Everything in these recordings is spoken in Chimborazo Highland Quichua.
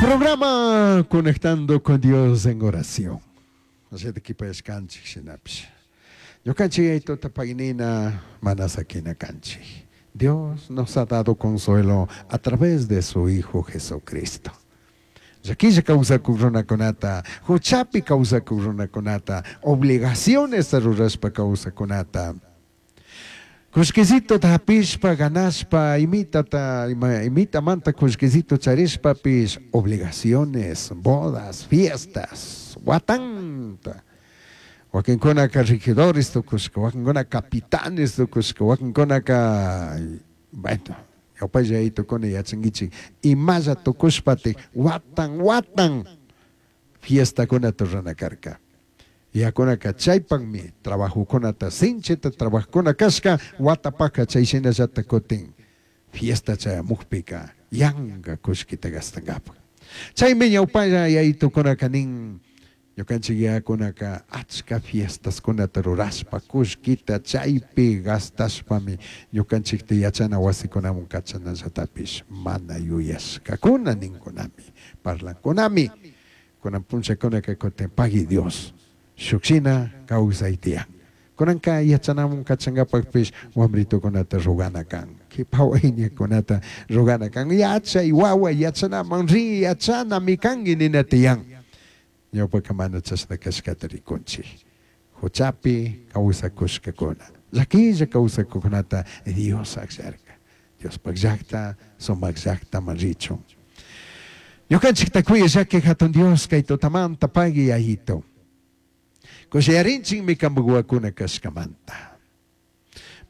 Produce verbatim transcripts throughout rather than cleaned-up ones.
Programa Conectando con Dios en Oración. Así que shinapish. Ñukanchik yayituta paginina mana sakina kanchik. Dios nos ha dado consuelo a través de su Hijo Jesucristo. Llaquilla kawsakuk runakunata, huchapi kawsakuk runakunata, obligaciones rurashpa kawsakunata. Kullkisito hapishpa, ganashpa, imitata, ima, imitamanta kullkisito charishpapish, obligaciones, bodas, fiestas, watanta. Wakinkunaka regidores tukushka, wakinkuna capitanes tukushka, wakinkunaka, bueno, ñawpalla tukuna yachankichik, imalla tukushpatik, watan, watan, fiestakunata rurana karka. Yakunaka chaypakmi trabajokunata sinchita trabajokuna kashka, watapaka chay shinallata kutin fiesta chayamukpika yanka kullkita gastankapak. Chaymi ñawpalla yayitukunaka nin, ñukanchik yakunaka achka fiestaskunata rurashpa kullkita chaypi gastashpami ñukanchikta yachana wasikunaman kachanallatapish mana yuyashkakuna ninkunami, parlankunami. Kunan punllakunaka kutin pagui Dios, shukshina kawsay tiyan. Kunanka yachanaman kachankapakpish wambritukunata rugana kan, kipa wayñakunata rugana kan, yachay wawa yachanaman ri yachanami kanki nina tiyan. Ñawpaka mana chashna kashkata rikunchik. Huchapi kawsakushkakuna, llakilla kawsakukunata Dios akllarka. Diospak llakta, sumak llaktaman richun. Ñukanchikta kuya llaki hatun Dios kay tutamanta pagui yayito. Kushiyarinchikmi kanpak wawakuna kashkamanta.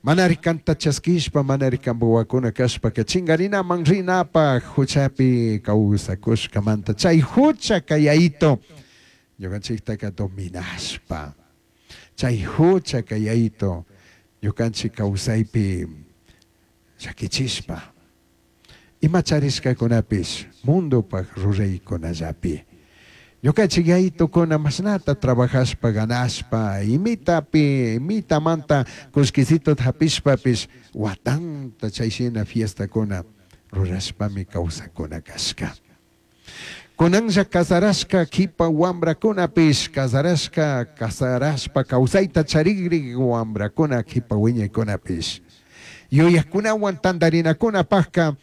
Manari kanta chaskishpa, manari kanpak wawakuna kashpaka chingarinaman rinapaj huchapi kawsakushkamanta. Chay huchaka yayito ñukanchiktaka dominashpa. Chay huchaka yayito ñukanchik kawsaypi llakichishpa. Ima charishkakunapish mundopaj ruraykunallapi. Ñukanchik yayitokuna mashnata trabajashpa ganashpa, imitapi, imitamanta kullkisito hapishpapish watanta chayshina fiestakuna rurashpami kawsakuna kashka. Kunanlla casarashka kipa wambrakunapish casarashka casarashpa kawsayta charikrik wambrakuna kipa wiñaykunapish. Yuyakunawan tantarinakunapajka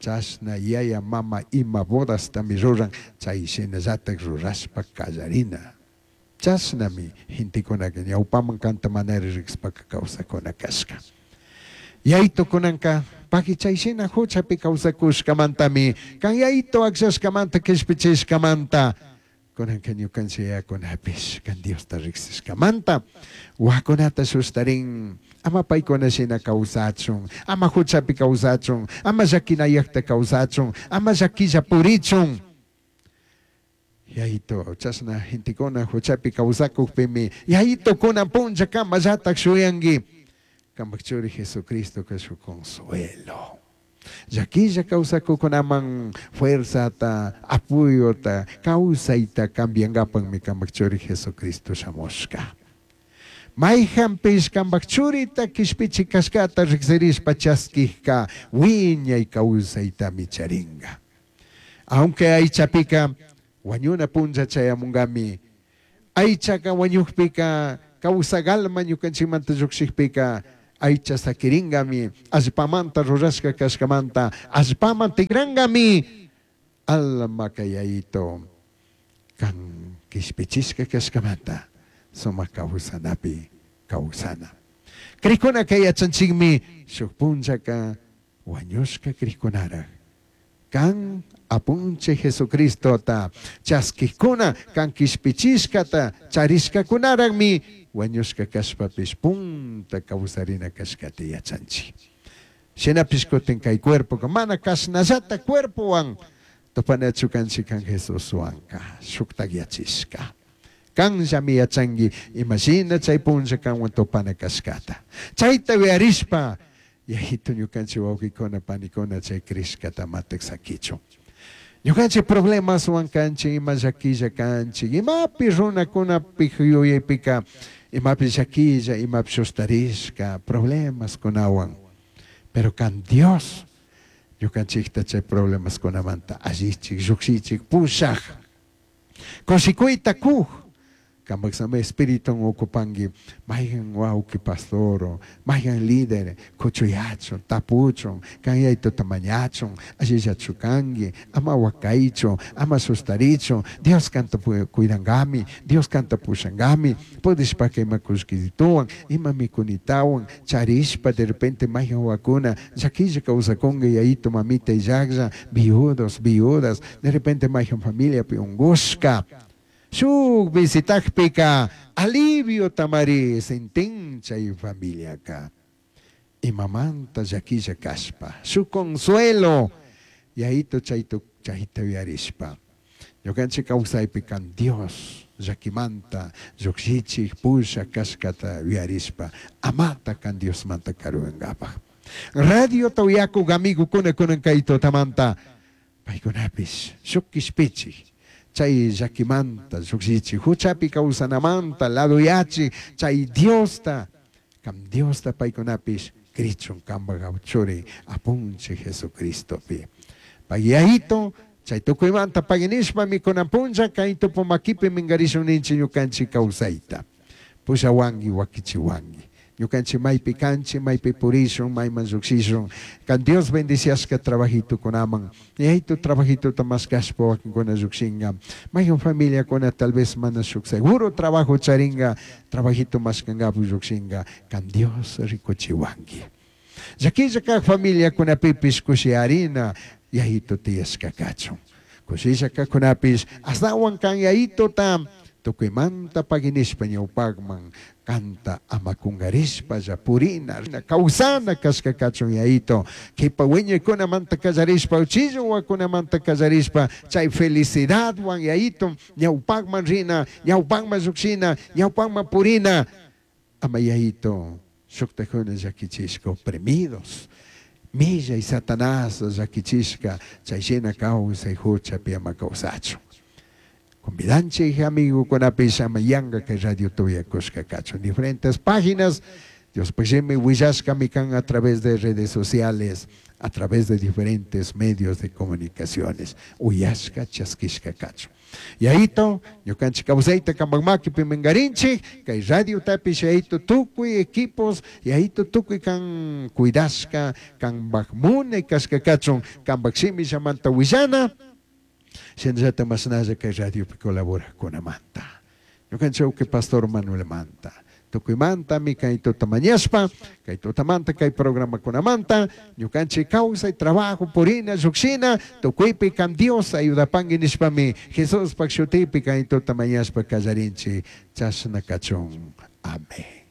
chashna yaya mama ima bodastami ruran chay shinallatak rurashpa kallarina. Chashnami gentekunaka ñawpaman kanta manari riqshpaka kawsakuna kashka. Yayito kunanka paqui chay shina huchapi kawsakushkamantami kan yayito akllashkamanta kishpichishkamanta kunanka ñukanchik yayakunapish kan Diosta riqsishkamanta wawakunata shustarin ama paykuna shina kawsachun, ama huchapi kawsachun, ama llakinayakta kawsachun, ama llakilla purichun. Yayito chashna gentekuna huchapi kawsakukpimi yayito kunan punlla kamallatak shuyanki kanpak churi Jesucristo ka shuk consuelo. Llakilla kawsakukunaman fuerzata, apoyota, kawsayta cambiankapakmi kanpak churi Jesucristo shamushka. Mayjanpish kanpak churita kishpichik kashkata riqsirishpa chaskijka wiñay kawsaytami charinka. Aunque aychapika wañuna punlla chayamunkami, aychaka wañukpika kawsak alma ñukanchikmanta llukshikpika aycha sakirinkami, allpamanta rurashka kashkamanta allpaman tikrankami, almaka yayito kan kishpichishka kashkamanta sumak kawsanapi kawsana. Krikunaka yachanchikmi shuk punllaka wañushka krikunarak kan apunchik Jesucristota chaskikuna kan kishpichishkata charishkakunarakmi wañushka kashpapish punta kawsarina kashkata yachanchik. Shinapish kutin kay cuerpoka mana kashnallata cuerpowan tupanachu kanchik kan Jesuswanka shuktak yachishka. Kanllami yachanki imashina chay punlla kanwan tupana kashkata. Chayta uyarishpa yayito ñukanchik wawqikuna panikuna chay crishkata matak sakichun. Ñukanchik problemaswan kanchik, ima llakilla kanchik, imapi runakunapi yuyaypika, imapi llakilla, imapi shustarishka, problemaskunawan. Pero kan Dios Ñukanchikta chay problemaskunamanta allichik, llukshichik, pushak. Kushikuyta kuj. Kampak Santo Espíritu ocupanki mayqan wawqi pastor, mayqan líder, kuchuyachun, tapuchun, kan Yayituta mañachun, allillachu kanki, ama wakaychu, ama sustarichu, Dios kanta cuidankami, Dios kanta pushankami, pudishpaka ima kullkituwan, ima mikunitawan, charishpa de repente mayqan wawakuna llakilla kawsakunka yayito mamita illaklla, viudos, viudas, de repente mayqan familiapi unkushka. Shuk visitakpika alivio tamari sintin chay familiaka. Imamanta llakilla kashpa, shuk consuelo, Yayito chaytu chayta uyarishpa. Ñukanchik kawsaypi kan Dios llakimanta llukshichik pusha kashkata uyarishpa, amata kan Diosmanta karuyankapaj. Radiota uyakuk amigokuna kunan kay tutamanta, paykunapish shuk kishpichik. Chay llakimanta llukshichik, huchapi kawsanamanta ladoyachi, chay Diosta, kam Diosta paykunapish krichun kampak churi apunchik Jesucristopi. Pay Yayito, chay tukuymanta paginishpa mikunan punlla kay tupu makipi minkarishun ninchik ñukanchik kawsayta. Pushawanki, wakichiwanki. Ñukanchik maypi kanchik, maypi purishun, mayman llukshishun. Kan Dios bendiciashka trabajitukunaman. Yayito trabajituta mashkashpa wakinkuna llukshinka. Mayqan familiakuna tal vez mana shuk seguro trabajo charinka, trabajito mashkankapu llukshinka. Kan Dios rikuchiwanki. Llakilla kak familiakunapipish kushiyarina Yayito tiyashka kachun. Kushilla kakunapish astawan kan Yayitota tukuymanta paginishpa ñawpakman kanta ama kunkarishpalla purina, kawsana kashka kachun Yayito. Kipa wiñaykunamanta kallarishpa, uchilla wawakunamanta kallarishpa, chay felicidadwan Yayito ñawpakman rina, ñawpakman llukshina, ñawpakman purina. Ama Yayito shuktakuna llakichishka oprimidos. Millay Satanás llakichishka chay shina kawsay huchapi ama kawsachun. Convidanchik amigukunapish ama yanka kay radio tuyakushka kachun. Diferentes páginas, Dios shimi willashkami kan a través de redes sociales, a través de diferentes medios de comunicaciones. Uyashka chaskishka kachun. Yayito, ñukanchik kawsayta kampak makipi minkarinchik, kay radio tapish yayito tukuy equipos, yayito tukuy kan cuidashka, kanpak munay kashka kachun, kanpak shimillamanta willana, shinallata mashnalla kay radiopi colaborakunamanta. Ñukanchik uki Pastor Manuel manta. Tukuymantami kay tuta mañashpa, kay tutamanta kay programakunamanta, ñukanchik kawsay, trabajo, purina, llukshina, tukuypi kan Dios ayudapanki nishpami, Jesuspak shutipi kay tuta mañashpa kallarinchik, chashna kachun. Amén.